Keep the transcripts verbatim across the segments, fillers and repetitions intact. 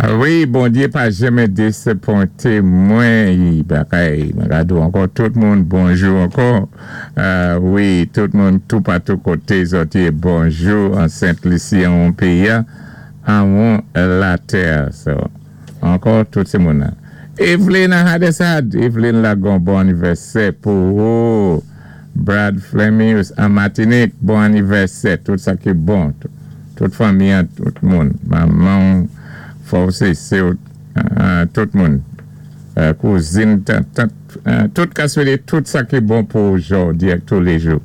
Ah wi, Bondyé pa janmen désapwenté mwen. Bagay, mwen ka di ankò tout moun bonjou ankò. Euh, wi, tout moun toupatou koté zòt yé bonjou an Sent Lisi an péyi anwon latè. So, ankò tout sé moun. Evelyn Hadesad, Evelyn Lagon, bon anivèsè pou ou. Brad Fleming an Matinik, bon anivèsè, tout sa ki bon. Tout, tout fanmi, tout moun. Manman, fòsé, sé euh, tout moun. Euh, kouzin, tant, euh, tout ka swété tout sa ki bon pou jòdi ak touléjou.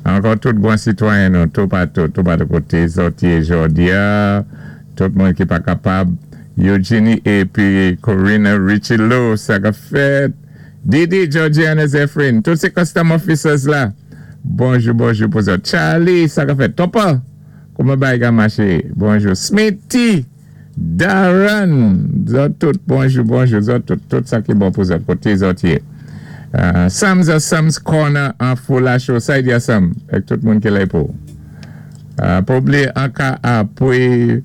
Ankò tout bon sitwayen nou, toupatou, toupatou koté zòt yé jòdi a, tout moun ki pa kapab, Eugenie épi Corina Richie sa ka fèt. Didi, Georgiana Zephyrin, tout sé custom officers la. Bonjou, bonjou pou zòt. Charlie, sa ka fèt. Topa, kouman bagay ka maché? Bonjou. Smithy, Darren, zòt tout, bonjou, bonjou, zòt tout, tout sa ki bon pou zòt, koté zòt yé. Uh, Sam's a Sam's Corner an Fulacho, sa y di a Sam, ak tout moun ki la pou. Uh, pa blié anka apwé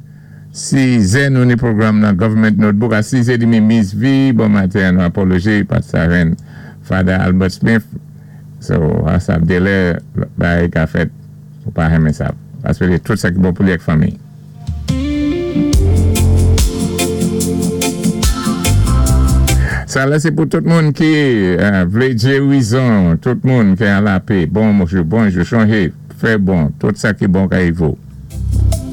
sizè nou ni pwogram nan Government Notebook a sizè demi Miss V, bon maten nou apology, pat sa ren Father Albert Smith. So, a sa délè, bagay ka fèt, ou pa renmen sa. Paské tout sa ki bon pou li ak fanmi. Sa la sé pou tout moun ki euh, vlé gérizon, tout moun ki an lapè. Bon bonjou, bonjou, chanjé, fè bon, tout sa ki bon ka rivé.